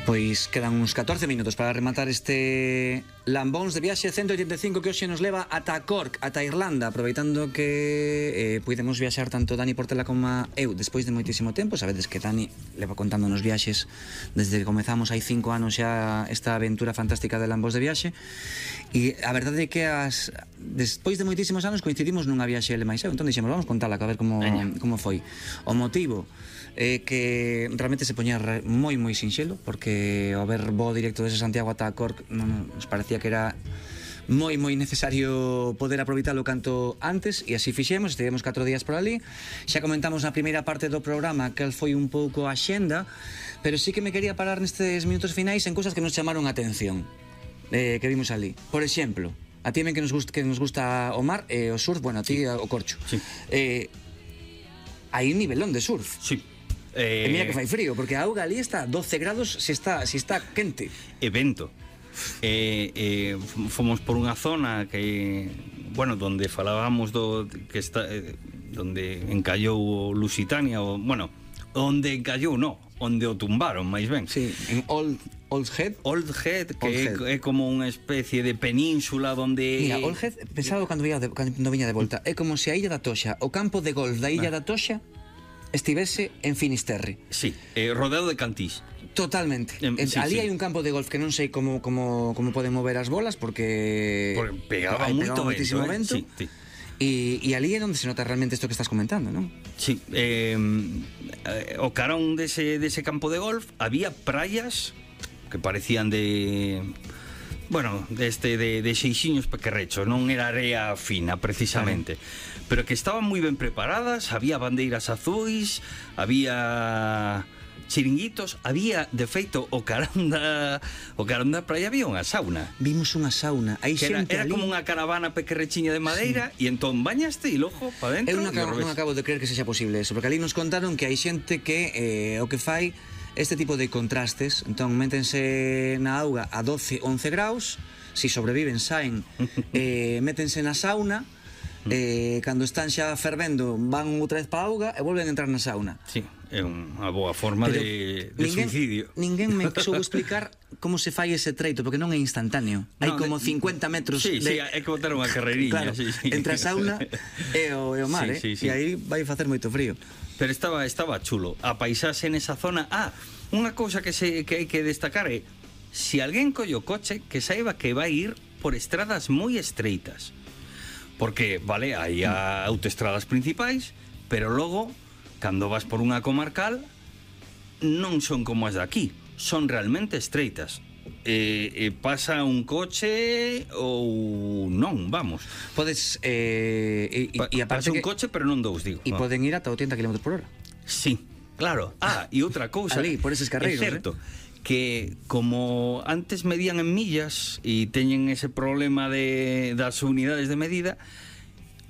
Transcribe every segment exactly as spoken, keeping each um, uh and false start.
Pois quedan uns catorce minutos para rematar este Lambóns de viaxe ciento oitenta e cinco que hoxe nos leva ata Cork, ata Irlanda, aproveitando que eh, podemos viaxar tanto Dani Portela como eu despois de moitísimo tempo. Sabedes que Dani leva contando nos viaxes desde que comezamos hai cinco anos xa esta aventura fantástica de Lambóns de viaxe, e a verdade é que as, despois de moitísimos anos coincidimos nunha viaxe ele máis eu, entón dixemos, vamos contala, a ver como, como foi. O motivo é que realmente se poñía moi moi sinxelo, porque ao ver voo directo desde Santiago ata Cork non nos parecía que era moi moi necesario poder aproveitalo canto antes, e así fixemos. Estivemos catro días por ali. Xa comentamos na primeira parte do programa que foi un pouco a xenda, pero sí que me quería parar nestes minutos finais en cousas que nos chamaron a atención, eh, que vimos ali. Por exemplo, a ti que nos gusta, que nos gusta o mar e eh, o surf, bueno, a ti sí. O corcho. Sí. Eh, hai un nivelón de surf. Sí. Eh... E mira que fai frío, porque a auga ali está doce grados se está, se está quente. Evento. Eh, eh, fomos por unha zona que, bueno, donde falábamos do que está, eh, donde encallou o Lusitania, o, bueno, onde encallou, no, onde o tumbaron, máis ben. Sí, en Old Old Head. Old Head, que Old Head. É, é como unha especie de península donde... Mira, Old Head, pensaba cando viña de, cando viña de volta, é como se a Illa da Toxa, o campo de golf da Illa ah. da Toxa estivese en Finisterre. Sí, eh, rodeado de cantís. Totalmente. Eh, sí, sí. Ali hai un campo de golf que non sei como como como poden mover as bolas porque porque pegaba moito moitísimo vento. Eh? Sí, sí. E, e ali é onde se nota realmente isto que estás comentando, non? Sí, eh, o carón dese, dese campo de golf había praias que parecían de... Bueno, deste de, de xeixiños pequerrechos, non era area fina precisamente, claro. Pero que estaban moi ben preparadas, había bandeiras azuis, había chiringuitos, había, de feito, o carón da, o carón da praia había unha sauna. Vimos unha sauna, hai que xente era, era ali... como unha caravana pequerrechiña de madeira, sí. E entón bañaste e logo pa dentro. Eu non acabo, non acabo de creer que sexa posible eso, porque ali nos contaron que hai xente que eh, o que fai este tipo de contrastes, entón métense na auga a doce, once graus, si sobreviven saen, eh, métense na sauna, eh, cando están xa fervendo van outra vez pa auga e volven a entrar na sauna. Sí, é unha boa forma pero de, de ninguén, suicidio. Ninguén me soubo explicar como se fai ese treito, porque non é instantáneo. Hai no, como cincuenta metros sí, de... Sí, hai que botar unha carreiriña, claro, sí, sí. Entre a sauna e o, e o mar, sí, eh? Sí, sí. E aí vai facer moito frío. Pero estaba estaba chulo. A paisaxe nesa zona. Ah, unha cousa que se que hai que destacar é se alguén colle o coche, que saiba que vai ir por estradas moi estreitas. Porque, vale, hai a autoestradas principais, pero logo, cando vas por unha comarcal, non son como as de aquí, son realmente estreitas. E, e pasa un coche ou non, vamos. Podes eh, e, pa, e pasa un que, coche, pero non dous, digo. E poden ir ata oitenta kilómetros por hora. Sí, claro. Ah, e outra cousa. Ali, por eses carreiros, é certo, eh? que como antes medían en millas e teñen ese problema de das unidades de medida,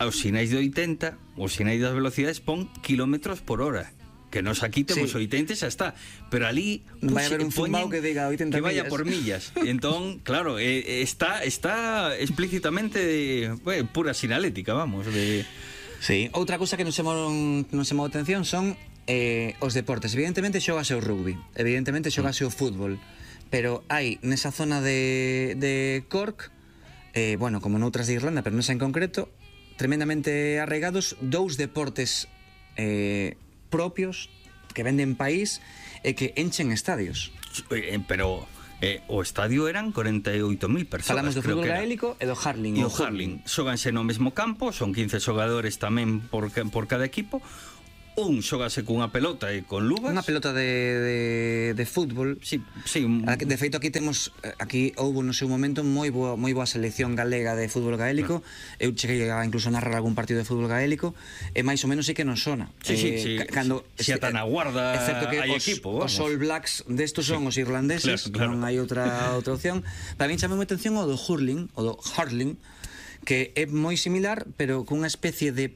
aos sinais de oitenta, os sinais das velocidades pon kilómetros por hora. Que nos aquí temos sí. oitenta xa está, pero ali vai haber un zumbao que diga oitenta que vaya millas. por millas. Entón, claro, eh, está está explícitamente de, bueno, pura sinalética, vamos, de... Sí, outra cousa que nos chamou nos chamou a atención son eh, os deportes. Evidentemente xógase o rugby, evidentemente xógase o fútbol, pero hai nesa zona de, de Cork, eh, bueno, como noutras de Irlanda, pero nesa en concreto, tremendamente arraigados dous deportes eh, propios que venden país e que enchen estadios. Eh, pero eh, o estadio eran corenta e oito mil persoas. Falamos do fútbol gaélico e do hurling. E o hurling. Xóganse no mesmo campo, son quince xogadores tamén por, por cada equipo. Un xogase cunha pelota e con luvas. Unha pelota de, de, de fútbol. Sí, sí. Un... De feito aquí temos, aquí houbo no seu momento moi boa, moi boa selección galega de fútbol gaélico. No. Eu cheguei a incluso narrar algún partido de fútbol gaélico e máis ou menos sei que non sona. Sí, sí, eh, sí. Cando, se ata na guarda que hai os, equipo, vamos. Os All Blacks destos son sí. Os irlandeses, claro, claro. Non hai outra outra opción. Para min chama moita atención o do hurling, o do hurling, que é moi similar, pero cunha especie de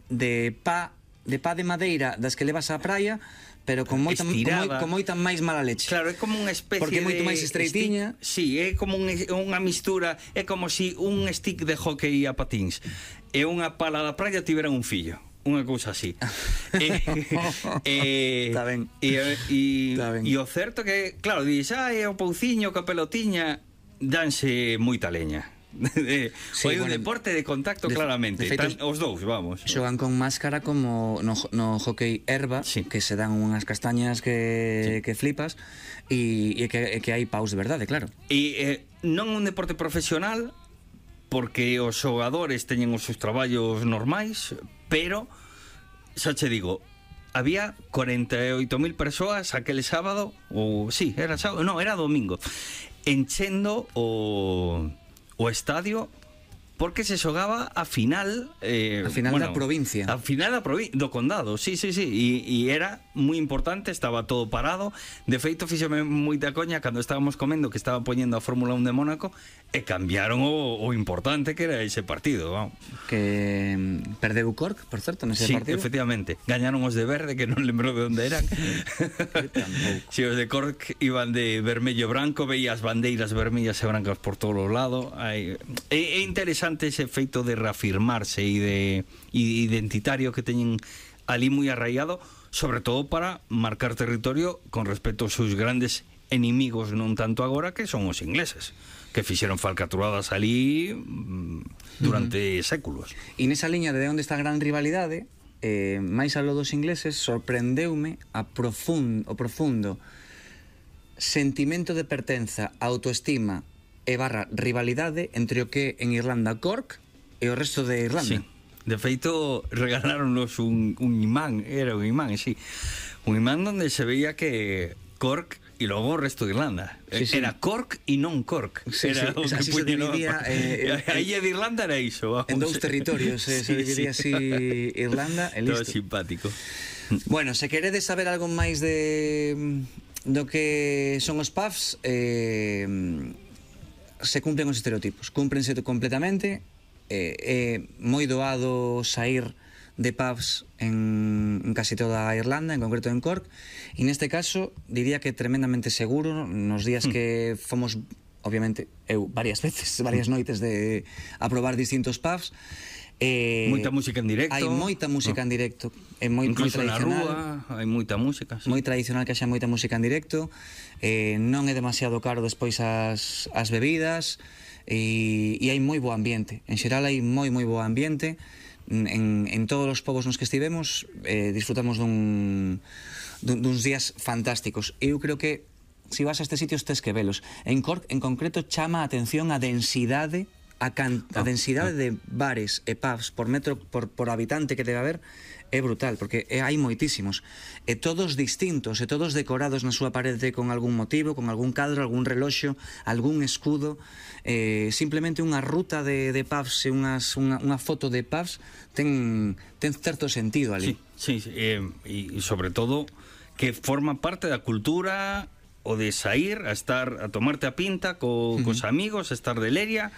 de pa de pá de madeira das que levas á praia, pero con moita, con, moi, con moita máis mala leche. Claro, é como unha especie porque é moito de máis estreitiña. Sí, é como un, unha mistura, é como si un stick de hockey a patins e unha pala da praia tiveran un fillo. unha cousa así. eh, eh, Está ben. E, e, Está ben. e o certo que, claro, dís, ai, o pouciño, que a pelotiña, danse moita leña. Sí, Foi un bueno, deporte de contacto, de- claramente. de feito, Tan, os dous, vamos. Xogan con máscara como no, no hockey herba, Sí. que se dan unhas castañas que, que flipas, e, e que, e que hai paus de verdade, claro. E eh, non un deporte profesional, porque os xogadores teñen os seus traballos normais, pero, xa che digo, había cuarenta e oito mil persoas aquele sábado, ou sí, era sábado, no, era domingo, enchendo o, o estadio, porque se xogaba a final eh, A final da provincia. A final da provi do condado, sí, sí, sí. E, e era moi importante, estaba todo parado. De feito, fíxome moita coña cando estábamos comendo que estaba poñendo a Fórmula un de Mónaco e cambiaron o, o importante que era ese partido, vamos. Que mm, perdeu o Cork, por certo, nese Sí, partido. efectivamente. Gañaron os de verde, que non lembro de onde eran. tampouco. Si, os de Cork iban de vermello e branco, veías bandeiras vermellas e brancas por todos os lados. Hai... É, é interesante ese feito de reafirmarse e de e identitario que teñen ali moi arraigado, sobre todo para marcar territorio con respecto aos seus grandes enemigos, non tanto agora, que son os ingleses, que fixeron falcaturadas ali mm, durante uh-huh. séculos. E nesa liña de onde está a gran rivalidade, eh, máis aló dos ingleses, sorprendeume a profund, o profundo sentimento de pertenza, autoestima e barra rivalidade entre o que en Irlanda Cork e o resto de Irlanda. Sí. De feito, regaláronos un, un imán, era un imán, sí. Un imán donde se veía que Cork e logo o resto de Irlanda. Sí, sí. Era Cork e non Cork. Sí, era sí, o que así se puñen, dividía, no? eh, A illa de Irlanda era iso, vamos. En dous territorios eh, se Sí, dividía sí. así Irlanda e Todo listo. simpático. Bueno, se queredes saber algo máis de do que son os pubs, eh, se cumplen os estereotipos, cúmplense completamente. É eh, eh, moi doado sair de pubs en, en casi toda a Irlanda, en concreto en Cork, e neste caso diría que tremendamente seguro. Nos días que fomos, obviamente, eu varias veces, varias noites de a probar distintos pubs, eh, Moita música en directo. hai moita música en directo, é moi, moi Incluso na tradicional. rúa hai moita música, sí. Moi tradicional que haxa moita música en directo, eh, non é demasiado caro despois as, as bebidas, e, e hai moi bo ambiente. En xeral hai moi moi bo ambiente. En, en todos os povos nos que estivemos eh, disfrutamos dun, dun, duns días fantásticos. Eu creo que se vas a estes sitios tes que velos. En Cork en concreto chama a atención a densidade a, can, a densidade de bares e pubs por metro por, por habitante que debe haber é brutal, porque é, hai moitísimos, e todos distintos, e todos decorados na súa parede con algún motivo, con algún cadro, algún reloxo, algún escudo, eh, simplemente unha ruta de, de pubs e unhas, unha, unha foto de pubs ten, ten certo sentido ali. Sí, sí, sí, eh, e sobre todo que forma parte da cultura o de sair a estar a tomarte a pinta co, uh-huh. cos amigos, a estar de leria,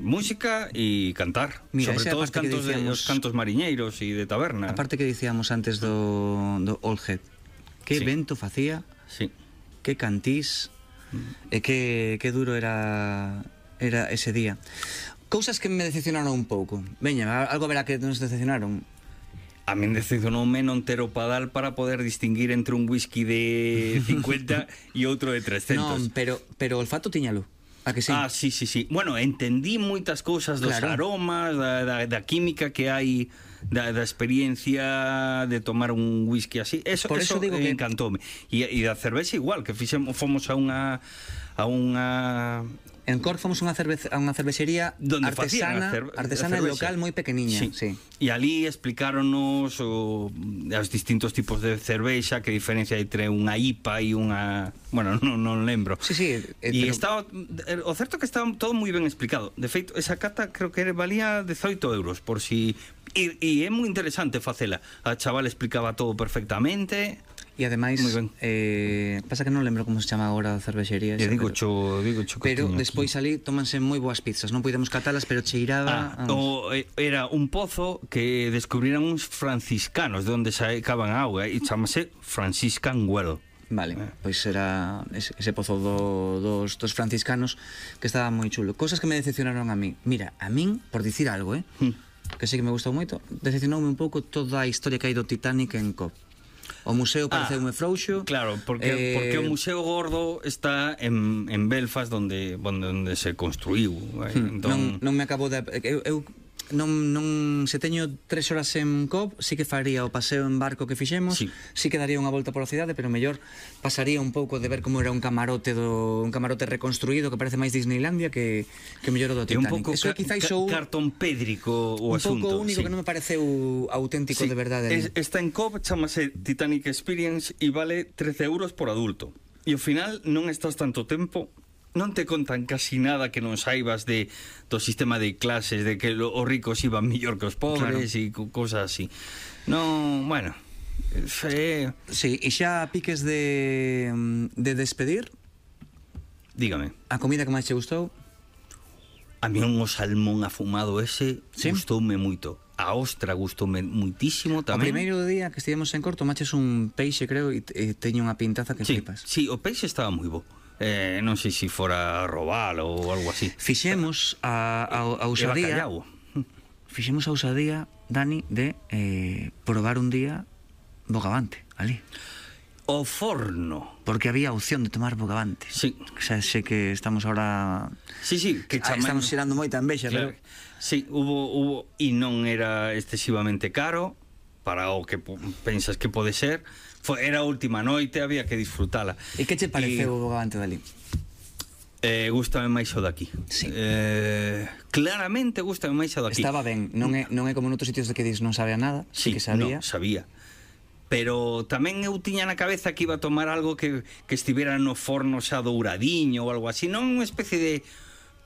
música e cantar. Mira, sobre todo os cantos, dicíamos, de, os cantos mariñeiros e de taberna. A parte que dicíamos antes do, do Old Head, que Sí. vento facía, Sí. que cantís, mm. e que, que duro era era ese día. Cousas que me decepcionaron un pouco. Veña, algo verá que nos decepcionaron. A min decepcionoume non ter o padal para poder distinguir entre un whisky de cincuenta e outro de trescentos. Non, pero, pero o olfato tiñalo. A que sí? Ah, sí, sí, sí. Bueno, entendí moitas cousas dos Claro. aromas, da, da, da química que hai, da, da experiencia de tomar un whisky así. Eso, Por eso eso digo eh, que- encantoume. E, e da cervexa igual, que fixemos, fomos a unha a unha En Cork fomos a unha, cerveza, a unha cervexería donde facían artesana, a cer- artesana a e cervexa. local moi pequeniña. Sí. Sí. E ali explicaronos o, os distintos tipos de cervexa, que diferencia entre unha I P A e unha... Bueno, non, non lembro. Sí, sí, eh, E pero- estaba, o certo é que estaba todo moi ben explicado. De feito, esa cata creo que valía dezoito euros por si... E, e é moi interesante facela. A chaval explicaba todo perfectamente. E ademais, Moi ben. eh, pasa que non lembro como se chama agora a cervexería. E esa, digo pero- cho, digo cho que Pero tiña despois ali tómanse moi boas pizzas. Non podemos catalas, pero cheiraba... Ah, o, eh, era un pozo que descubriran uns franciscanos de onde sacaban a auga e chamase Franciscan Well. Vale, pois era ese, ese pozo do, dos, dos franciscanos que estaba moi chulo. Cosas que me decepcionaron a mí. Mira, a min, por dicir algo, eh? Mm. que sí que me gustou moito, decepcionoume un pouco toda a historia que hai do Titanic en Cop. O museo pareceume ah, frouxo. Claro, porque, eh, porque o Museo Gordo está en, en Belfast, donde, onde se construiu. Eh, entón... non, non me acabo de... Eu, eu non, non, se teño tres horas en Cop, sí que faría o paseo en barco que fixemos, sí, sí que daría unha volta pola cidade, pero mellor pasaría un pouco de ver como era un camarote do un camarote reconstruído que parece máis Disneylandia que que mellor o do Titanic. É un pouco Eso ca quizás ca sou cartón pédrico o un asunto. Un pouco único, sí, que non me pareceu auténtico, sí, de verdade. Es, está en Cop, chamase Titanic Experience e vale trece euros por adulto. E ao final non estás tanto tempo, non te contan casi nada que non saibas de do sistema de clases, de que lo, os ricos iban mellor que os pobres, e claro, cosas así. Non, bueno, fe... Sí, e xa piques de de despedir. Dígame. A comida que máis che gustou? A mí un salmón afumado ese, ¿sí?, gustoume moito. A ostra gustoume muitísimo tamén. O primeiro día que estivemos en Corto maches un peixe, creo, e teño unha pintaza que sí, flipas. Sí, o peixe estaba moi bo. Eh, non sei se fora robalo ou algo así. Fixemos a, a, a usadía Fixemos a usadía, Dani, de eh, probar un día bogavante ali. O forno. Porque había opción de tomar bogavante. Sí. O sea, sé que estamos ahora... Sí, sí, que ah, estamos xerando moita envexa, claro, pero... Sí, hubo, hubo, e non era excesivamente caro para o que pensas que pode ser. Foi, era a última noite, había que disfrutala. E que che pareceu o bogavante dali? Eh, gústame máis o daqui. Sí. Eh, claramente gústame máis o daqui. Estaba ben, non é, non é como noutros sitios de que dis non sabe a nada, sí, sí que sabía. No, sabía. Pero tamén eu tiña na cabeza que iba a tomar algo que, que estivera no forno xa douradiño ou algo así, non unha especie de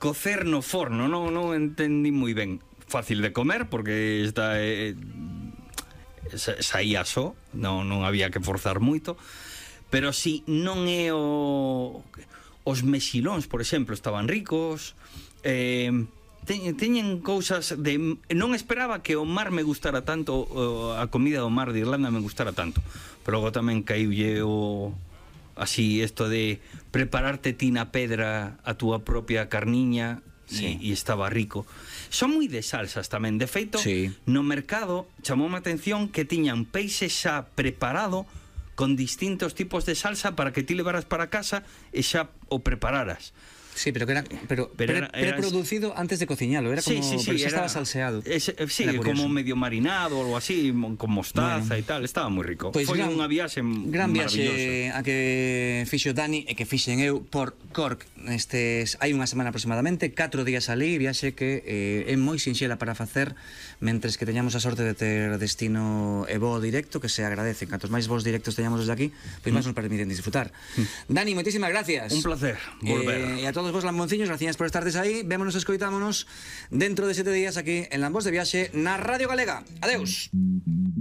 cocer no forno, non, non entendí moi ben. Fácil de comer porque está... Eh, saía só, non, non había que forzar moito, pero si non é o... os mexilóns, por exemplo, estaban ricos, eh, te, teñen cousas de... Non esperaba que o mar me gustara tanto, a comida do mar de Irlanda me gustara tanto, pero logo tamén caiulle o... así, isto de prepararte ti na pedra a túa propia carniña, sí, e, e estaba rico. Son moi de salsas tamén. De feito, sí, no mercado chamoume a atención que tiñan peixe xa preparado con distintos tipos de salsa para que ti levaras para casa e xa o prepararas. Sí, pero que era pero, pero era, era, preproducido antes de cociñalo, era como, sí, sí, sí, pero xa estaba salseado. Ese, sí, como medio marinado ou algo así, con mostaza, bueno, e tal, estaba moi rico. Pues foi gran, unha viaxe gran viaxe a que fixo Dani e que fixen eu por Cork nestes hai unha semana aproximadamente, catro días ali, viaxe que eh, é moi sinxela para facer mentres que teñamos a sorte de ter destino e voo directo, que se agradece. Cantos máis voos directos teñamos desde aquí, pois máis nos permiten disfrutar. Mm. Dani, moitísimas gracias. Un placer volver. Eh, e a todos vos lambonciños, gracias por estardes aí. Vémonos e escoitámonos dentro de sete días aquí en Lambos de Viaxe na Radio Galega. Adeus.